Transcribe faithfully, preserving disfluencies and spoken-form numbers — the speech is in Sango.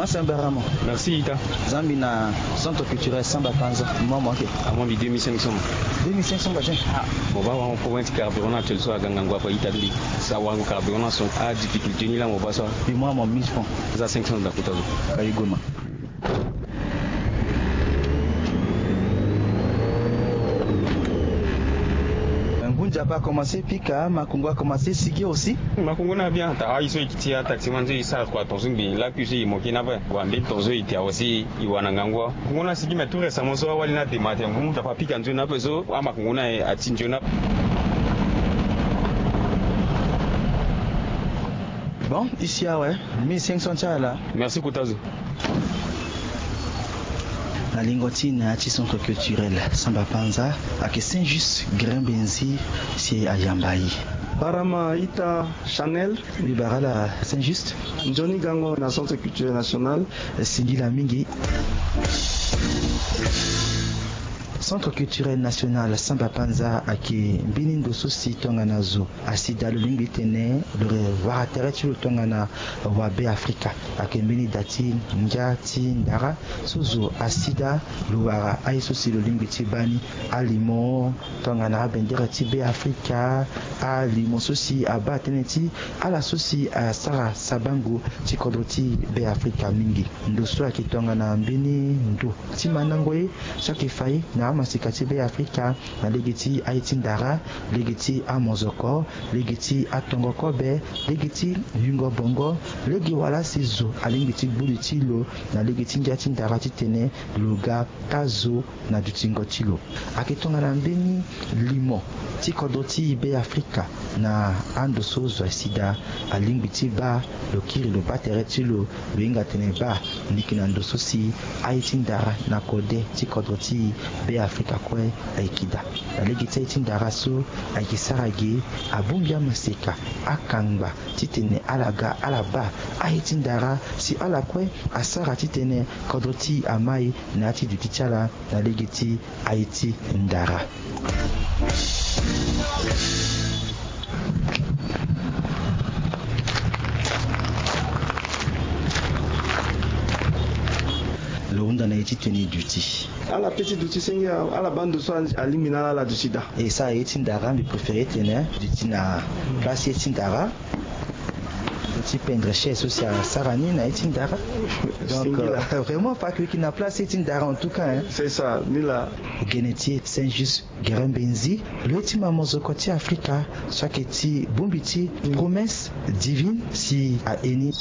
Merci ita. Zambi na centre culturel Samba Panza, mo mwa mo ake? Amon bi deux mille cinq cents. Deux mille cinq cents ba je. Mo ba wa mo problème ti carburant na actuel so aga ngangu ape ita, mbi sa wango carburant na so a difficulté ni la mo ba so. Bi mo mwa mo mille francs. Za cinq cents da kota zo. Ka yugo ma. Ngu nzapa akomanse pika, makongo akomanse sigi aussi. Makongo na bien ta ayi so e kiti a taximan so e sara kua tonso mbi laku so e moke na ape. Wa mbeni tonso e te awe si e wara na ngangu. Makongo na sigi mais tout récemment so awali na dematin ngu nzapa apika nzoni ape so amakongo na e ati nzoni ape. Bon, isi awe mille cinq cents ti ala. Merci kota zo. Na lingo ti na ya ti centre culturel Samba Panza, ayeke Saint Juste Gere Mbenzi si ayamba e. Barama ita Chanel. Mbi bara ala Saint Juste. Nzoni gango na centre culturel national. Singila mingi. Centre culturel national Samba Panza ayeke mbeni ndo so si tongana zo asida lo lingbi tene lo wara tere ti lo tongana wa Beafrika. Ayeke mbeni da ti ngia ti ndara so zo asida lo wara aye so si lo lingbi ti baa ni alimo tongana abendere ti Beafrika, alimo so si abaa tënë ti ala so si asara sabango ti kodro ti Beafrika mingi. Ndo so ayeke tongana mbeni ndo ti mandango ye so ayeke fa ye na amaseka ti Beafrika na lege ti aye ti ndara, lege ti amozoko, lege ti atongo kobe, lege ti yungo bongo, lege wala si zo alingbi ti gbu li ti lo na lege ti ngia ti ndara titene lo ga taa zo na dutingo ti lo. Ayeke tongana mbeni limo ti kodro ti Beafrika na ando so zo asida alingbi ti baa lo kiri lo baa tere ti lo. Lo hinga tene baa ndiki na ndo so si aye ti ndara na kode ti kodro ti Beafrika kue ayeke daa. Na lege ti aye ti ndara so ayeke sara ge abongbi amaseka, akangba titene ala ga ala baa aye ti ndara si ala kue asara titene kodro ti e amai na ya ti duti ti ala na lege ti aye ti ndara. Lo hunda na ye ti tene duti. Ala pe ti duti senge ala baa ndo so alingbi na ala ala duti daa. E sara ye ti ndara mbi préféré tene duti na place ye ti ndara. Ti pendre chaise so si asara ni na ye ti ndara. Donc vraiment fa ayeke na place ye ti ndara en tout cas. C'est ça, ni la. Gene ti e Saint Juste Gere Mbenzi, lo ye ti mamozoko ti Afrika so ayeke ti bongbi ti promesse divine si aye ni.